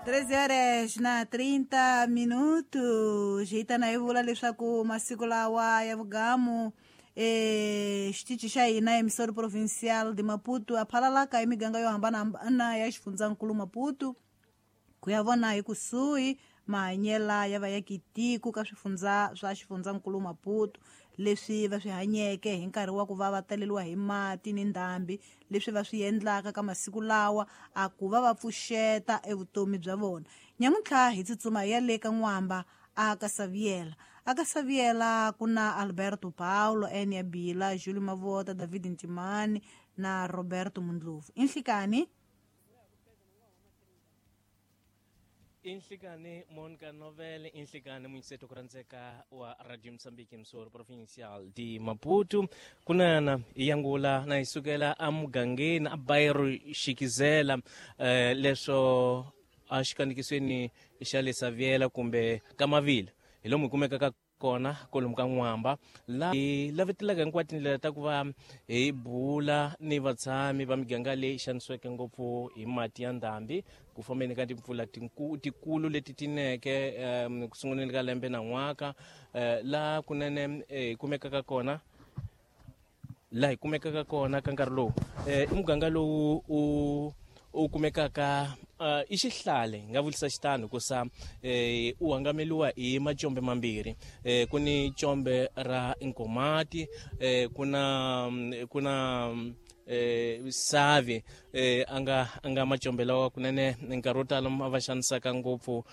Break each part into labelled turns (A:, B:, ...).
A: 13 horas na 30 minutos. Hi ta na hi vula leswaku masiku lawa ya vugamu xitichi xa hina emissora provincial de Maputo a phalalaka hi miganga yo hambanahambana ya xifundzankulu Maputo ku ya vona hi kusuhi mahanyela ya vayakitiko ka swifundza swa xifundzankulu Maputo leswi va swi hanyeke hi nkarhi wa ku va va taleliwa hi mati ni ndhambi leswi va swi endlaka ka masiku lawa a ku va va pfuxeta evutomi bya vona. Nyamuntlha hi tsutsuma hi ya le ka N'wamba a ka Saviela. A ka Saviela ku na Alberto Paulo, Enia Bila, Julio Mavota, David Ntimani na Roberto Mundlovu. Inhlikani
B: Inhlikani Monica Novel, inhlikani munyiseto kurandzeka wa Radio Mozambique Msoro Provincial de Maputo. Kunana iyangula na isukela amugangeni a bairro Xikizela leswo a xikanikisweni xa le Saviela kumbe Kamavila hi lomu hi kumekaka kona kolomu ka N'wamba la hi lavetelaka hinkwato tindlela ta ku va hi bula ni vatshami va miganga leyi xanisiweke ngopfu hi mati ya ndhambi ku fambeni ka timpfula tikulu leti tineke ku sunguleni ka lembe na n'waka la kunene hi kumekaka kona la hi kumekaka kona ka nkarhi lowu i muganga lowu u kumekaka i xihlale hi nga vulisa xitano hikusa u hangameliwa hi macombe mambirhi ku ni combe ra Nkomati ku na Savi anga macombe lawa kunene nkarhi wo tala ma va xanisaka ngopfu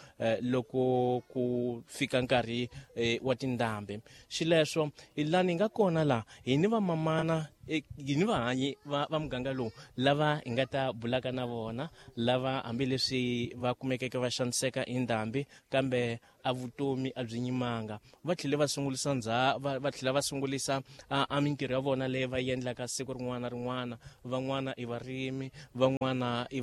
B: loko ku fika nkarhi wa tindhambi. Xileswo hi lani hi nga kona la hi ni vamamana hi ni vahanyi va muganga lowu lava hi nga ta bulaka na vona lava hambileswi va kumekeke va xaniseka hi ndhambi kambe a vutomi a byi nyimanga va tlhele va sungulisa va tlhela va sungulisa a mintirho ya vona leyi va endlaka siku rin'wana na rin'wana. Van'wana i varimi, van'wana i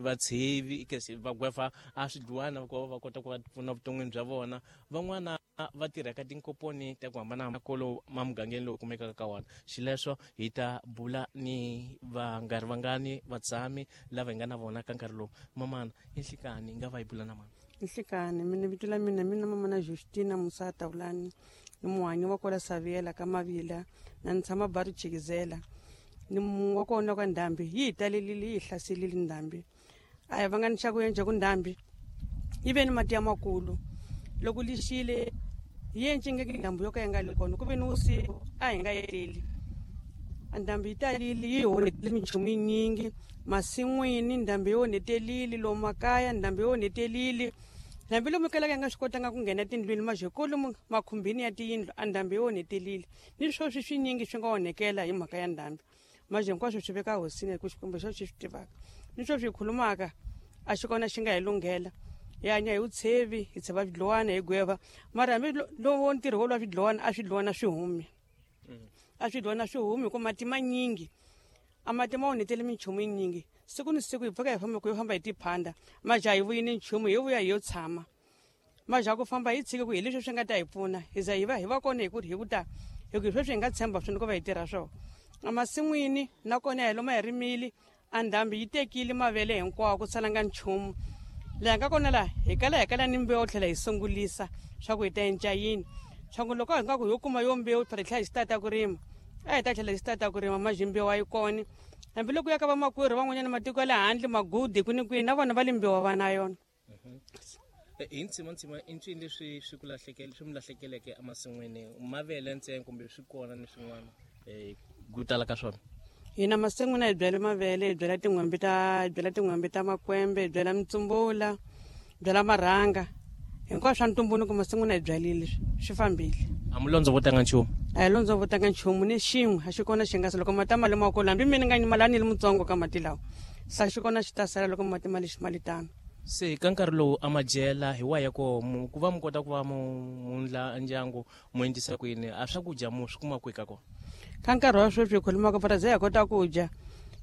B: vatshevi va gwefa a swidluwana ku va kota ku va pfuna vuton'wini bya vona, van'wana va tirha ka tinkomponi ta ku hambanahambana kolo ma mugangeni lowu kumekaka ka wona. Xileswo hi ta bula ni vangari vangani vatshami lava hi nga na vona ka nkarhi lowu. Mamana inhlikani hi nga va hi bula na mani?
C: Inhlikani mina vito la mina mina mamana Justina Musa Taulani ni muhanyi wa kola Saviela ka Mavila na ni tshama Baru Chikizela ni wa kona ka ndhambi yi hi talelile yi hi hlaselile ndhambi a hi vanga ni xa ku endla ku ndhambi yi ve ni mati ya makulu loko lixile hi encingeke ndhambi yo ka yi nga le kona ku ve ni vusiku a hi nga etleli ndhambi yi talile yi onhetele minchumu yinyingi masin'wini ndhambi yi onhetelile lomu makaya ndhambi yi onhetelile ndhambi lomu kalaka yi nga swi kotanga ku nghena tindlwini majekolo makhumbini ya tiyindlu a ndhambi yi onhetelile ni swoswi swinyingi swi nga onhekela hi mhaka ya ndhambi maje hinkwaswo swi veka hosini hi ku Xikwembu xo xi swi tivaka ni swo swi khulumaka a xi kona xi nga hi lunghela hi hanya hi vutshevi hi tsheva swidluwana hi gweva mara hambi lowo ntirho wo lwa swidluwana a swidluwana swi humi a swidluwana swi humi hi ku mati manyingi a mati ma onhetele minchumu yinyingi siku ni siku hi pfuka hi famba ku yo famba hi tiphanda maja hi vuyi ni nchumu hi vuya hi yo tshama maja ku famba hi tshike ku hi leswi swi nga ta hi pfuna hi za hi va hi va kona hi ku hi ku ta hi ku hi sweswi hi nga tshemba swona ku va hi tirha swona emasin'wini nakona hi loma hi rimile a ndhambi yi tekile mavele hinkwawo ku salanga nchumu laha nga kona laha hi kala ni mbewu tlhela hi sungulisa swa ku hi ta enca yini swa ku loko hi nga ku yo kuma yo mbewu phela hi tlhela hi xitata ku rima a hi ta tlhela hi xitata ku rima maji mbewu a yi kona hambiloko ya ka vamakwerhu van'wanyana matiko ya le handle magudi kwini kwini na vona va le mbewu va na yona.
B: Hi ntsima i ncini leswi swi ku lahlekele swi mi lahlekeleke emasin'wini mavele ntsena kumbe swi kona ni swin'wana ku tala ka swona?
C: Hina masin'wini hi byala mavele hi byala tin'hwembe ta hi byala tin'hwembe ta makwembe hi byala mitsumbula hi byala marhanga hinkwaswo swa ntumbuluko masin'wini hi byalile swi fambile.
B: A mi londzovotanga nchumu?
C: A hi londzovotanga nchumu ni xin'we a xi kona xi nga loko mati ma le makulu hambi mina nga nyimala ni li mutsongo ka mati lawa sa xi kona xi ta sala loko mati ma lexi ma li tano.
B: Se ka nkarhi lowu a madyela hi wa ya koho ku va mi kota ku va mundla ndyangu mu endlisa kwini a swakudya mu swi kuma kwihi ka kona?
C: Ka nkarhi wa sweswi hi khulumaka fara ze hi kota ku dya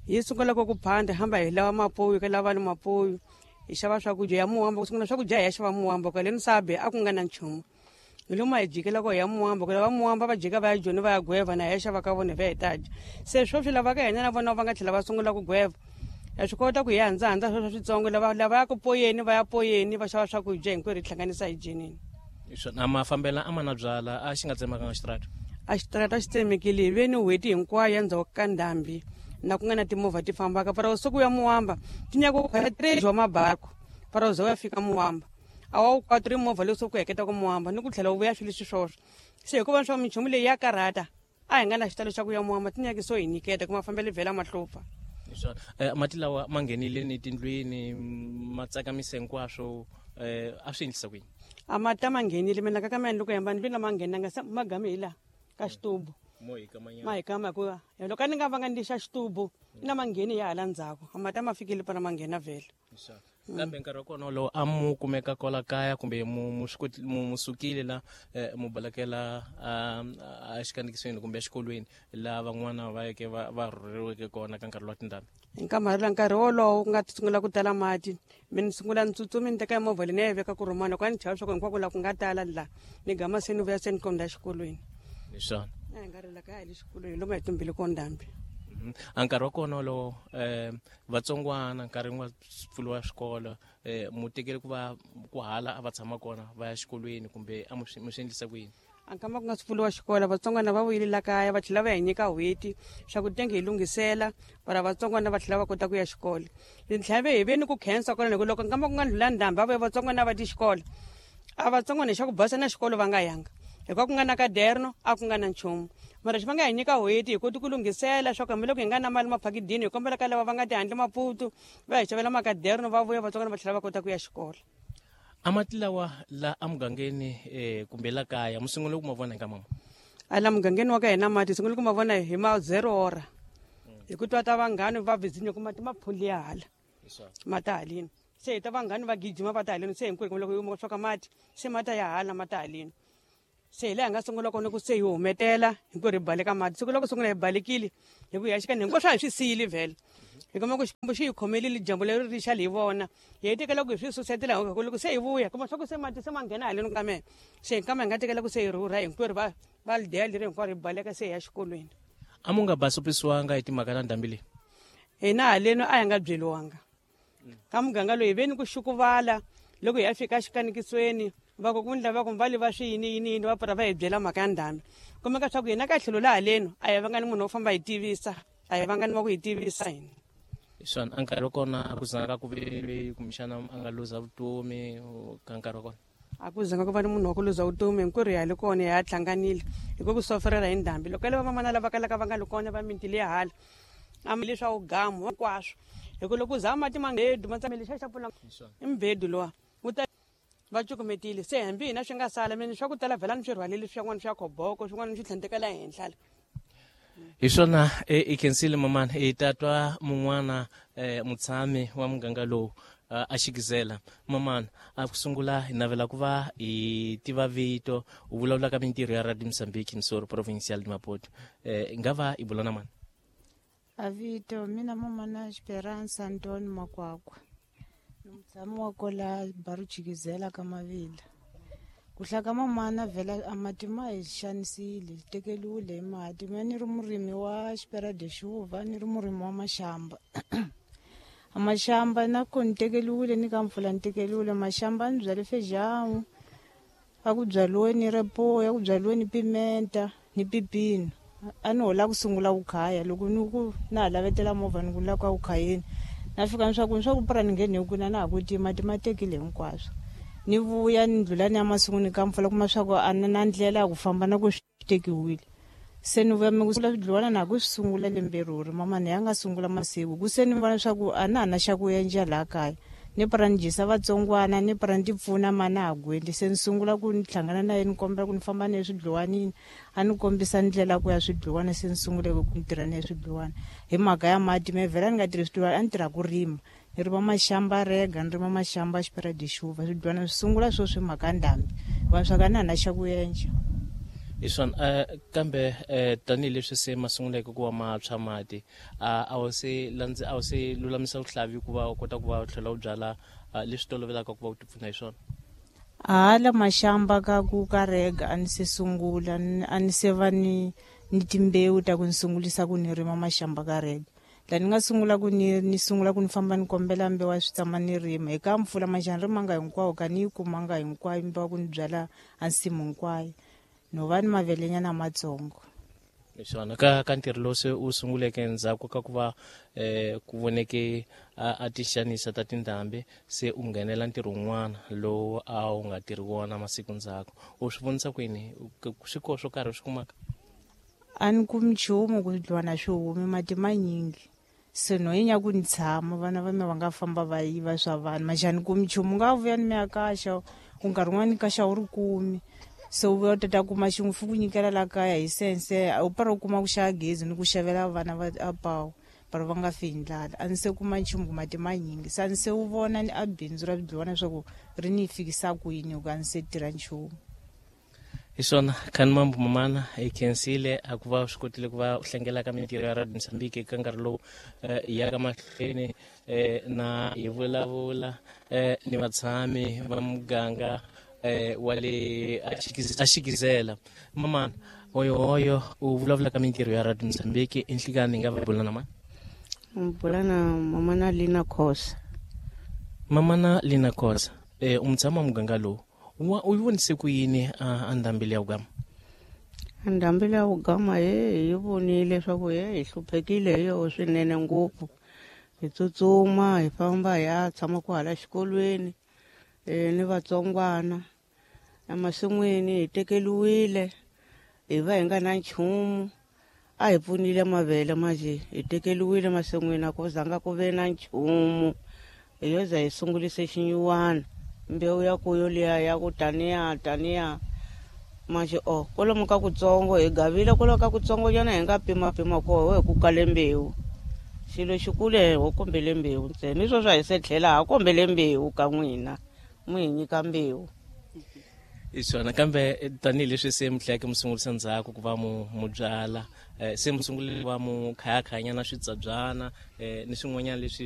C: hi sungula ku phanda hamba hi lava mapuyu ka lava ni mapuyu hi xava swakudya ya muhamba ku sungula swakudya hi ya xava muhamba kwale ni sabe a ku nga na nchumu hi lomu hi jikela ko hi ya muhamba ku lava muhamba va jika va ya joni va ya gweva na hi ya xava ka vona hi va hi ta dya se sweswi lava ka hina na vona va nga tlhela va sungula ku gweva Ya swi kota ku hi handzahandza sweswo switsongo lava lava ya ku poyeni va ya poyeni va xava swakudya hinkwerhu hi hlanganisa hi dyenini.
B: Swona mafambela a ma na byala a xi nga tsemakanga xitarata?
C: A xitarata xi tsemekile hi ve ni n'hweti hinkwayo ya ndzhaku ka ndhambi na ku nga na timovha ti fambaka para usiku ya muwamba ti nyaka ku khwela trade wa mabaku para uze u ya fika muwamba a wa wu kwati ri movha leswi ku heketa ku muwamba ni ku tlhela wu vuya swilo leswi swoswo se hikuva swa minchumu leyi ya karhata a hi nga na xitalo xa ku ya muwamba ti nyaki so hi nyiketa ku mafambelo vhela ma hlupha.
B: Swona mati lawa ma nghenile ni tindlwini ma tsakamise hinkwaswo a swi endlisa ku yini?
C: A mati a ma nghenile mina ka ka mina loko hamba ndlwini lama nghenanga se ma game hi laha ka xitubu ma hi kama hikuva loko a ni nga vanga ni xa xitubu na ma ngheni ya hala ndzhaku a mati a ma fikile pana ma nghena vhele.
B: Kambe nkarhi wa kona wolowo a mu kumeka kwala kaya kumbe mu swi koti mu sukile la mu balekela a xikandziyisweni kumbe exikolweni laha van'wana va yeke va va rhurheriweke kona ka nkarhi wa tindhambi?
C: Hi nkarhi nkarhi wolowo ku nga sungula ku tala mati mi ni sungula ni tsutsumi ni teka movha leyi ni ya yi veka ku rhumana loko a ni chava swa ku hinkwako laha ku nga tala la ni gama se ni vuya se ni kondza exikolweni.
B: Hi swona
C: a hi nga ri la kaya hi le xikolweni lomu a hi tumbele kona ndhambi.
B: A nkarhi wa kona wolowo vatsongwana nkarhi wa pfuriwa swikolo mu tekele ku va ku hala a va tshama kona va ya xikolweni kumbe a mu swi endlisa ku yini?
C: A nkama ku nga si pfuriwa xikolo vatsongwana va vuyile la kaya va tlhela va hi nyika n'hweti swa ku tenge hi lunghisela para vatsongwana va tlhela va kota ku ya xikolo. Ni tlhela ve hi ve ni ku khensa kona hi ku loko nkama ku nga ndlhula ndhambi va vuya vatsongwana va ti xikolo a vatsongwana hi xa ku basa na xikolo va nga yanga hikuva ku nga na kaderno a ku nga na nchumu mara xi va nga hi nyika n'hweti hi koti ku lunghisela swa ku hambiloko hi nga na mali maphakidini hi kombela ka lava va nga tihandle Maputo va hi xavela makaderno va vuya vatsongwana va tlhela va kota ku ya xikolo.
B: A mati lawa la emugangeni kumbe la kaya mi sungule ku ma vona hi ka mama?
C: A la mugangeni wa ka hina mati sungule ku ma vona hi ma zero ora hi ku twa ta vanghani va vizinyo ku mati ma phuli ya hala ma ta haleni se hi ta vanghani va gijima va ta haleni se hinkwerhu loko hi swa ka mati se ma ta ya hala ma ta haleni se hi laha hi nga sungula kona ku se hi humetela hinkwerhu hi baleka mati siku loko sungula hi balekile hi ku ya xikani hinkwaswo a hi swi siyile vhele hi kuma ku Xikwembu xi hi khomelile dyambu leri ri xa hi vona hi hetekela ku hi swi susetela hi ku loko se hi vuya kuma swa ku se mati se ma nghena haleni ka mehe se hi kama hi nga tekela ku se hi rhurha hinkwerhu va va lideya leri hinkwaro hi baleka se hi ya xikolweni.
B: A mu nga basopisiwanga hi timhaka ta ndhambi leyi?
C: Hina haleni a hi nga byeliwanga ka muganga loyi hi ve ni ku xukuvala loko hi ya fika xikanikisweni va ku ku ndla va ku va le va swi yini yini yini va pfura va hi byela mhaka ya ndhambi kumeka swa ku hina ka tlhelo la haleni a hi vanga ni munhu wo famba hi tivisa a hi vanga ni wa ku hi tivisa hina.
B: Swona a nkarhi wa kona a ku zanga ku ve kumbexana a nga luza vutomi ka nkarhi wa kona?
C: A ku zanga ku va ni munhu wa ku luza vutomi hinkwerhu hi ya le kona hi ya hlanganile hi ku ku soferela hi ndhambi loko le vamamana lava kalaka va nga li kona va miti leya hala a leswaku gamu hinkwaswo hi ku loko u za mati ma mbedu ma tsamele xa xa pfula i mbedu lowa wu ta va cukumetile se hambi hina swi nga sala mina swa ku tala vhela ni swi rhwalile swin'wana swa khoboko swin'wana ni swi tlhandlekela henhla la.
B: Hi swona i khensile mamana hi ta twa mun'wana mutshami wa muganga lowu a xikizela mamana a ku sungula hi navela ku va hi tiva vito u vulavula ka mintirho ya Radio Mozambique Msoro Provincial de Maputo hi nga va hi bula na mani?
D: A vito mina mamana Esperança Antônio Makwakwa ni mutshami wa kola Baruchikizela ka Mavila. Ku hlaka mamana vhela a mati ma hi xanisile tekeliwile hi mati mina ni ri murimi wa xipera de xuva ni ri murimi wa maxamba. A maxamba na ko ni tekeliwile ni ka mpfula ni tekeliwile maxamba ni byale fejamu a ku byaliwe ni repoya ku byaliwe ni pimenta ni pipino a ni hola ku sungula ku khaya loko ni ku na ha lavetela movha ni ku la ku khayeni na fika ni swa ku ni swa ku pura ni ngheni hi ku na na ha ku ti mati ma tekile hinkwaswo ni vuya ni ndlula ni ya masunguni ka mpfula kuma swa ku a na na ndlela ya ku famba na ku swi tekiwile se ni vuya mi ku sungula swidliwana na ku swi sungula lembe ruri mamani ya nga sungula masiku ku se ni vona swa ku a na ha na xa ku endla laha kaya ni pura ni dyisa vatsongwana ni pura ni ti pfuna ma na ha gweli se ni sungula ku ni hlangana na yena ni kombela ku ni famba na ye swidliwanini a ni kombisa ndlela ku ya swidliwana se ni sungule ku ni tirha na ye swidliwana hi mhaka ya mati me vhela ni nga tirhi swidliwana a ni tirha ku rima ni rima maxamba rega ni rima maxamba xipera de xuva swidliwana swi sungula sweswi hi mhaka ndhambi vanhu swa ka na ha na xa ku endla.
B: Hi swona kambe tanihileswi se ma sunguleke ku va ma tshwa mati a wu se landze a wu se lulamisa vuhlavi ku va u kota ku va u tlhela u byala leswi tolovelaka ku va u tipfuna hi swona?
D: Hala maxamba ka ku ka rega a ni se sungula a ni se va ni ni timbewu ta ku ni sungulisa ku ni rima maxamba ka rega. La ni nga sungula ku ni sungula ku ni famba ni kombela mbewu ya switsama ni rima hi ka mpfula maxana rimanga hinkwawo ka ni yi kumanga hinkwayo mbewu ku ni byala a nsimu hinkwayo no va ni mavelenyana matsongo.
B: Hi swona ka ntirho lowu se u sunguleke endzhaku ka ku va ku voneke a ti xanisa ta tindhambi, se u nghenela ntirho wun'wana lowu a wu nga tirhi wona masiku ndzhaku, u swi vonisa kwini swi koho swo karhi u swi kumaka?
D: A ni kumi nchumu ku dlwana swi humi mati manyingi, se no yi ku ni tshama vana va mina va nga famba va yiva swa vanhu maxani kumi nchumu nga vuya ni mi ya kaxa ku nkarhi wun'wani ni kaxa wu ri kumi, se u vuya u tata kuma xin'we fi ku nyikela la kaya hi sense u para u kuma ku xava gezi ni ku xavela vana va a pawu para va nga fi hi ndlala. A ni se kuma nchumu ku mati manyingi, se a ni se wu vona ni a bindzu ra bidlwana leswaku ri ni fikisa kwini ku a ni se tirha nchumu.
B: Hi swona khani mambo mamana hi khensile a ku va u swi kotile ku va u hlengela ka mintirho ya Radio Mozambique eka nkarhi lowu hi ya ka mahlweni na hi vulavula ni vatshami va muganga wa le a Xikizela. Mamana hoyohoyo u vulavula ka mintirho ya Radio Mozambique enhlikani hi nga va bula na mani?
C: Bula na mamana Lina Khosa.
B: Mamana Lina Khosa, u mutshami wa muganga lowu wa u yi vonise ku yini a ndhambi leya wugama?
C: Ndhambi leya wugama he hi vonile leswaku he hi hluphekile hi yoho swinene ngopfu, hi tsutsuma hi famba hi ya tshama kwahala xikolweni ni vatsongwana emasin'wini hi tekeliwile hi va hi nga na nchumu, a hi pfunile mavele manje hi tekeliwile masin'wini a ku zanga ku ve na nchumu, hi yo za hi sungulise xinyuwana mbewu ya kuyo liya ya ku taniya taniya manje o kwalomu ka kutsongo hi gavile kwalomu ka kutsongo nyana hi nga pimapima koho hi ku kale mbewu, xilo xikulu ho kombele mbewu ntsena ni sweswo a hi se tlhela ha kombele mbewu ka n'wina mu hi nyika mbewu.
B: Hi swona kambe tanihileswi se mi tlheleke mi sungurisa ndzhaku ku va mu byala se mi sungule ku va mu khayakhayanyana switsabyana ni swin'wanyana leswi